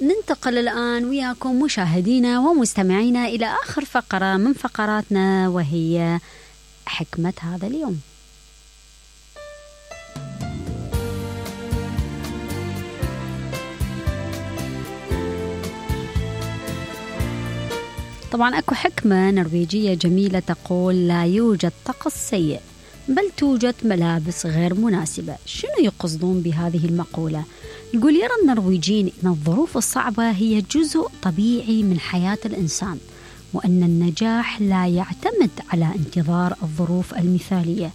ننتقل الآن وياكم مشاهدينا ومستمعينا إلى آخر فقرة من فقراتنا، وهي حكمة هذا اليوم. طبعا أكو حكمة نرويجية جميلة تقول: لا يوجد طقس سيء بل توجد ملابس غير مناسبة. شنو يقصدون بهذه المقولة؟ يقول يرى النرويجيين أن الظروف الصعبة هي جزء طبيعي من حياة الإنسان، وأن النجاح لا يعتمد على انتظار الظروف المثالية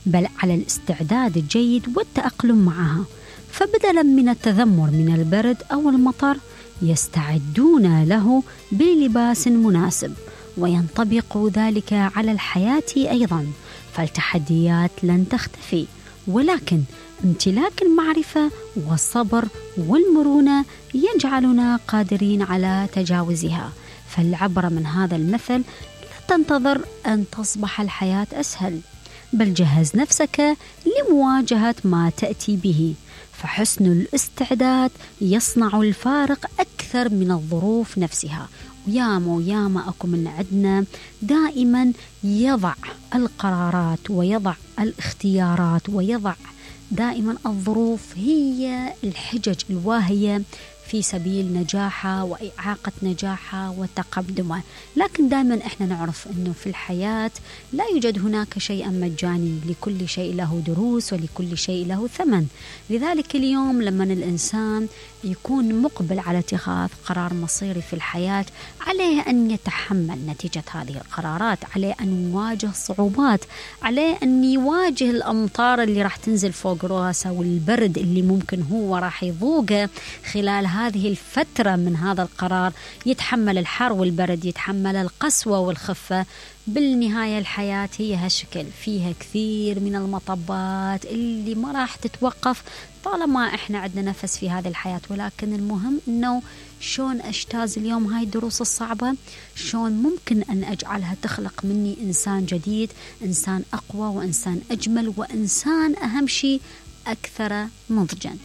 بل على الاستعداد الجيد والتأقلم معها. فبدلا من التذمر من البرد أو المطر يستعدون له بلباس مناسب، وينطبق ذلك على الحياة أيضا. فالتحديات لن تختفي، ولكن امتلاك المعرفة والصبر والمرونة يجعلنا قادرين على تجاوزها. فالعبرة من هذا المثل: لا تنتظر أن تصبح الحياة أسهل، بل جهز نفسك لمواجهة ما تأتي به. فحسن الاستعداد يصنع الفارق أكثر من الظروف نفسها. وياما أكو من عندنا دائما يضع القرارات ويضع الاختيارات ويضع دائما الظروف هي الحجج الواهية في سبيل نجاحها وإعاقة نجاحها وتقدمها. لكن دائما إحنا نعرف أنه في الحياة لا يوجد هناك شيء مجاني، لكل شيء له دروس ولكل شيء له ثمن. لذلك اليوم لما الإنسان يكون مقبل على اتخاذ قرار مصيري في الحياة، عليه أن يتحمل نتيجة هذه القرارات، عليه أن يواجه صعوبات، عليه أن يواجه الأمطار اللي راح تنزل فوق رأسه والبرد اللي ممكن هو راح يذوقه خلال هذه الفترة من هذا القرار. يتحمل الحر والبرد، يتحمل القسوة والخفة. بالنهاية الحياة هي هالشكل، فيها كثير من المطبات اللي ما راح تتوقف طالما احنا عندنا نفس في هذه الحياة. ولكن المهم انه شون اجتاز اليوم هاي الدروس الصعبة، شون ممكن ان اجعلها تخلق مني انسان جديد، انسان اقوى وانسان اجمل وانسان اهم شيء اكثر نضجا.